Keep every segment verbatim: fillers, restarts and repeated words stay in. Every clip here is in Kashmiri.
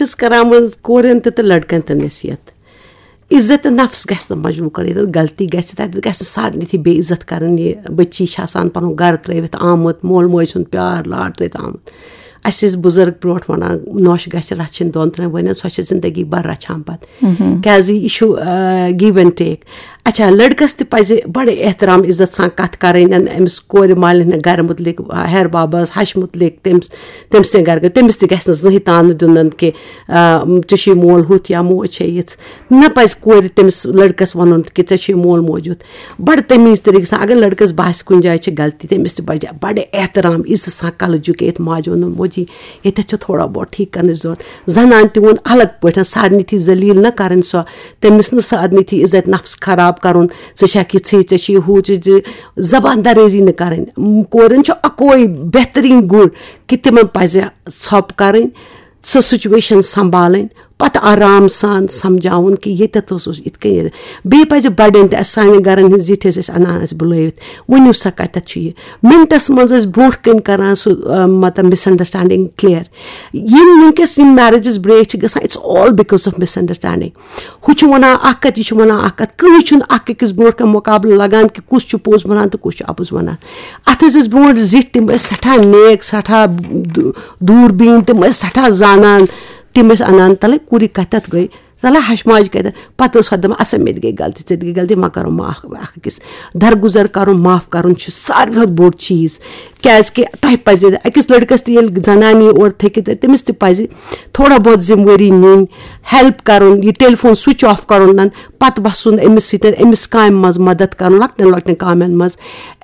چھَس کران وۄنۍ کورٮ۪ن تہِ تہٕ لڑکن تہِ نصیحت، عزت نفس گژھِ نہٕ مجروح کرٕنۍ، ییٚتٮ۪تھ غلطی گژھِ تتٮ۪تھ گژھِ نہٕ سارنٕے تھی بے عزت کرٕنۍ۔ یہِ بٔچی چھِ آسان پنُن گرٕ ترٲوِتھ آمُت، مول موج سُنٛد پیار لاڈ ترٲوِتھ آمُت۔ اسہِ ٲسۍ بُزرگ برونٛٹھ ونان، نوش گژھِ رچھِنۍ دۄن ترٛٮ۪ن ؤرین، سۄ چھِ زندگی بھر رچھان پتہٕ۔ کیازِ یہِ چھُ، آ، give and take۔ اچھا، لڑکس تہِ پزِ بڑٕ احترام عزت سان کتھ کرٕنۍ، أمِس کورِ مالِنۍ ہٕنٛدِ گرٕ متعلق، ہیر بابس، ہش متعلق، تٔمِس، تٔمۍ سٕنٛدِ گرٕ، تٔمِس تہِ گژھِ نہٕ زٕہٕنۍ تانہٕ دیُن کہِ، آ، ژےٚ چھُے مول ہُتھ یا موج چھے یِژھ۔ نہ پزِ کورِ تٔمِس لڑکس ونُن کہِ ژےٚ چھُے مول موج یُتھ۔ بڑٕ تمیز طریقہٕ سان، اگر لڑکس باسہِ کُنہِ جایہِ چھِ غلطی، تٔمِس تہِ پزِ بڑٕ احترام عزت سان کلہٕ جُکٲیِتھ ماجہِ ونُن، موجی، ییٚتٮ۪تھ چھُ تھوڑا بہت ٹھیٖک کرنٕچ ضرورت۔ زنانہِ تہِ ووٚن الگ پٲٹھۍ، سارنٕے تھی ذلیل نہ کرٕنۍ سۄ، تٔمِس نہٕ سارنٕے تھی عزت نفس خراب کرُن، ژٕ چھکھ یِژھٕے، ژےٚ چھُے ہُہ، ژےٚ چھُ زبان درٲزی نہٕ کرٕنۍ۔ م، کورٮ۪ن چھُ اکوے بہتریٖن گُن کہِ تِمن پزِ ژھۄپہٕ کرٕنۍ، سۄ سچویشن سنبھالٕنۍ، پتہٕ آرام سان سمجھاوُن کہِ ییٚتٮ۪تھ اوس، اوس یِتھ کٔنۍ۔ بیٚیہِ پزِ بڑٮ۪ن تہِ، اسہِ سانٮ۪ن گرن ہٕنٛز زِٹھۍ ٲسۍ أسۍ انان، اسہِ بُلٲوِتھ، ؤنِو سا کتٮ۪تھ چھُ یہِ۔ منٹس منٛز ٲسۍ برونٛٹھ کَنہِ کران سُہ، آ، مطلب، مِس انڈرسٹینڈنگ کلیئر۔ یِم وٕنکیٚس یِم میریجز بریک چھِ گژھان، it's all because of misunderstanding۔ ہُہ چھُ وَنان اَکھ کَتھ، یہِ چھُ وَنان اَکھ کَتھ، کٕہٕنۍ چھُنہٕ اَکھ أکِس برونٛٹھ کَنہِ مُقابلہٕ لَگان کہِ کُس چھُ پوٚز وَنان تہٕ کُس چھُ اَپُز وَنان۔ اَتھ ٲسۍ أسۍ برونٛٹھ زِٹھۍ، تِم ٲسۍ سٮ۪ٹھاہ نیک، سٮ۪ٹھاہ دُ-، دوٗر بیٖن، تِم ٲسۍ سٮ۪ٹھاہ زانان، تِم ٲسۍ اَنان، تَلے کوٗرِ کَتٮ۪تھ گٔے، تَلے ہَش ماجہِ کَتٮ۪تھ۔ پَتہٕ ٲس ہۄ دَپان، اَسا مےٚ تہِ گٔے غلطی، ژےٚ تہِ گٔے غلطی، وۄنۍ کَرو معاف اَکھ أکِس۔ درگُزر کَرُن، معاف کَرُن چھُ ساروی کھۄتہٕ بوٚڑ چیٖز۔ کیازِ کہِ تۄہہِ پَزِ أکِس لٔڑکَس تہِ، ییٚلہِ زَنان یی اورٕ تھٔکِتھ، تٔمِس تہِ پَزِ تھوڑا بہت ذمہٕ وٲری نِنۍ، ہیلپ کَرُن، یہِ ٹیلی فون سُچ آف کَرُن، پَتہٕ وَسُن أمِس سۭتۍ، أمِس کامہِ منٛز مدد کَرُن، لۄکٹٮ۪ن لۄکٹٮ۪ن کامٮ۪ن منٛز،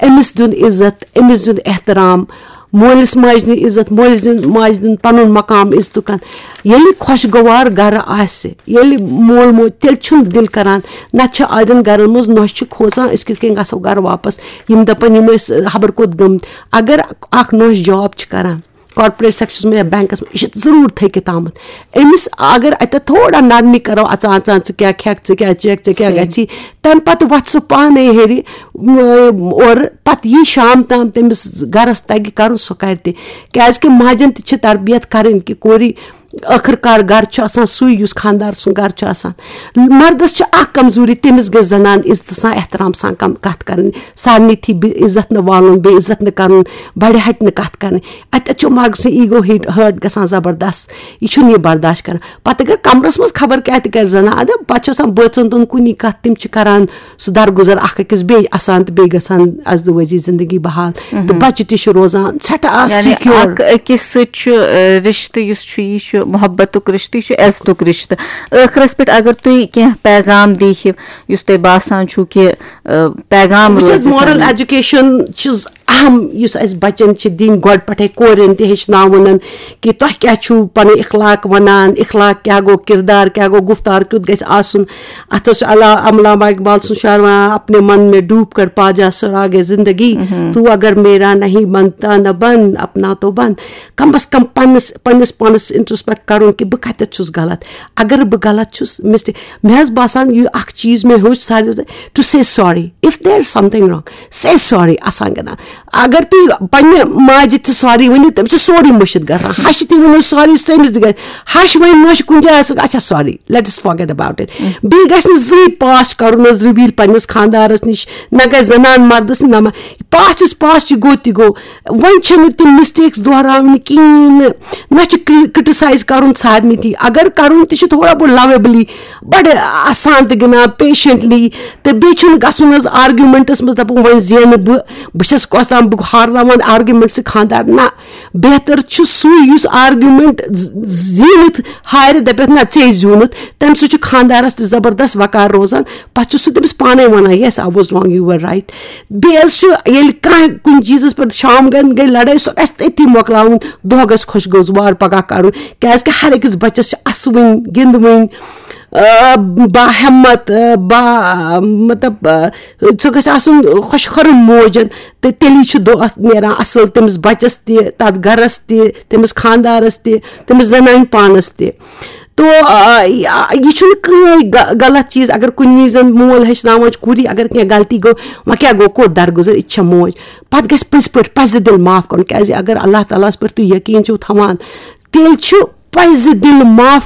أمِس دیُن عزت، أمِس دیُن احترام، مٲلِس ماجہِ دیُن عزت، مٲلِس دیُن، ماجہِ دیُن پَنُن مقام عزتُکَن۔ ییٚلہِ خۄشگوار گَرٕ آسہِ، ییٚلہِ مول موج، تیٚلہِ چھُنہٕ دِل کَران، نَتہٕ چھُ اَڑٮ۪ن گَرَن منٛز نۄشہِ چھِ کھوژان، أسۍ کِتھ کٔنۍ گژھو گَرٕ واپَس، یِم دَپَن یِم ٲسۍ خبر کوٚت گٔمٕتۍ۔ اگر اَکھ نۄش جاب چھِ کَران، کارپوریٹ سیکٹرس منٛز یا بینکس منٛز، یہِ چھُ ضروٗر تھٔکِتھ آمُت۔ أمِس اگر اَتٮ۪تھ تھوڑا نرمی کرو، اژان اژان، ژٕ کیٛاہ کھٮ۪کھ، ژٕ کیٛاہ چیکھ، ژےٚ کیٛاہ صحیح۔ گژھی، تَمہِ پتہٕ وۄتھِ سُہ پانے ہیٚرِ، م-، اورٕ پتہٕ یی شام تام تٔمِس گرس تگہِ کرُن، سُہ کرِ تہِ۔ کیازِ کہِ ماجن تہِ چھِ تربیت کرٕنۍ کہِ کورِ ٲخٕر کار گرٕ چھُ آسان سُے یُس خاندار سُنٛد گرٕ چھُ آسان۔ مردس چھِ اکھ کمزوری، تٔمِس گژھِ زنان عزتہٕ سان، احترام سان کم-، کتھ کرٕنۍ، سارنٕے تھی بے عزت نہٕ والُن، بے عزت نہٕ کرُن، بڑِ ہٹہِ نہٕ کتھ کرٕنۍ۔ اتہِ چھُ مرد سُنٛد ایٖگو ہیٹ ہٲرٹ گژھان زبردست، یہِ چھُنہٕ یہِ برداشت کران۔ پتہٕ اگر کمرس منٛز خبر کیٛاہ تہِ کرِ زنان، ادٕ پتہٕ چھُ آسان بٲژن دۄن کُنی کتھ، تِم چھِ کران سُہ درگُزر اکھ أکِس، بیٚیہِ اسان تہٕ بیٚیہِ گژھان ازدوٲجی زندگی بحال، تہٕ بچہِ تہِ چھِ روزان سٮ۪ٹھاہ یعنی سِکیور۔ اکھ أکِس سۭتۍ چھُ، آ، رشتہٕ یُس چھُ، یہِ چھُ محبتُک رشتہٕ، یہِ چھُ عزتُک رشتہٕ۔ ٲخرس پٮ۪ٹھ اگر تُہۍ کینٛہہ پیغام دِیہِو، یُس تۄہہِ باسان چھُو کہِ، آ، پیغام بہٕ چھَس روزِ مورل سانہِ ایجوکیشن چھُس اہم، یُس اَسہِ بَچَن چھِ دِنۍ گۄڈٕ پٮ۪ٹھَے، کورٮ۪ن تہِ ہیٚچھناوُن کہِ تۄہہِ کیٛاہ چھُو پَنٕنۍ اخلاق وَنان، اخلاق کیٛاہ گوٚو، کردار کیٛاہ گوٚو، گُفتار کیُتھ گژھِ آسُن۔ اَتھ حظ چھُ علا-، علامہ اقبال سُنٛد شعر وَنان، "اپنے من میں ڈوب کر پا جا سراغ زندگی، تو اگر میرا نہیں بنتا نہ بن، اپنا تو بن۔" کم از کم پنٛنِس، پنٛنِس پانَس انٹروسپیکٹ کَرُن کہِ بہٕ کَتٮ۪تھ چھُس غلط۔ اگر بہٕ غلط چھُس، مسٹیک، مےٚ حظ باسان یہِ اَکھ چیٖز مےٚ ہیوٚچھ ساروی، to say sorry if there is something wrong, say sorry۔ آسان گِنٛدان۔ اگر تُہۍ پننہِ ماجہِ تہِ ساری ؤنِو، تٔمِس چھُ سورُے مٔشِتھ گژھان۔ ہشہِ تہِ ؤنِو ساری، تٔمِس تہِ گژھِ۔ ہش وۄنۍ مٔشۍ کُنہِ جایہِ آسان، اچھا، ساری، let us forget about it۔ بیٚیہِ گژھِ نہٕ زٕہٕے پاسٹ کرُن حظ رِویٖل پننِس خاندارس نِش، نہ گژھِ زنان مردس نِش، نہ ما-، پاسٹ is past، یہِ گوٚو تہِ گوٚو۔ وۄنۍ چھِنہٕ تِم مسٹیکس دۄہراونہِ کِہیٖنۍ نہٕ، نہ چھُ کرٹیسائز کرُن سارنٕے تہِ۔ اگر کرُن تہِ چھُ تھوڑا بہت لویبلی، بڑٕ آسان تہٕ گِنٛدان پیشنٹلی، تہٕ بیٚیہِ چھُنہٕ گژھُن حظ آرگیومنٹس منٛز دَپُن وۄنۍ زینہٕ بہٕ، بہٕ چھَس کۄس تام، بہٕ ہارناوان آرگیومنٹ سۭتۍ خانٛدار۔ نہ، بہتر چھُ سُے یُس آرگیومنٹ ز-، زیٖنِتھ ہارِ، دَپٮ۪تھ نہ ژےٚ زیوٗنُتھ، تَمہِ سۭتۍ چھُ خانٛدارَس تہِ زبردست وقار روزان۔ پَتہٕ چھُ سُہ تٔمِس پانَے وَنان، "Yes, I was wrong, you were right۔" بیٚیہِ حظ چھُ ییٚلہِ کانٛہہ کُنہِ چیٖزَس پٮ۪ٹھ شام گٔے، گٔے لڑٲے، سۄ گژھِ تٔتھی مۄکلاوُن، دۄہ گژھِ خۄش گوزوار پَگاہ کَڑُن، کیٛازِکہِ ہر أکِس بَچَس چھِ اَسہٕ وٕنۍ، گِنٛدٕ وٕنۍ، آ، با ہمت، آ، با، مطلب، آ، سُہ گژھِ آسُن خۄش خرم موجن، تہٕ تیٚلی چھُ دۄہ اَتھ نیران اَصٕل تٔمِس بَچَس تہِ، تَتھ گَرَس تہِ، تٔمِس خانٛدارَس تہِ، تٔمِس زَنانہِ پانَس تہِ۔ تو، آ، یہِ، یہِ چھُنہٕ کٕہٕنۍ غ-، غلط چیٖز اگر کُنہِ وِزِ مول ہیٚچھناوان چھُ، کوٗری اگر کینٛہہ غلطی گوٚو، وۄنۍ کیٛاہ گوٚو، کوٚر درگُزر، یہِ چھےٚ موج۔ پَتہٕ گژھِ پٔزۍ پٲٹھۍ پَزِ دِل معاف کَرُن، کیٛازِ اگر اللہ تعالیٰ ہَس پٮ۪ٹھ تُہۍ یقیٖن چھِو تھاوان، تیٚلہِ چھُ پَزِ دِل معاف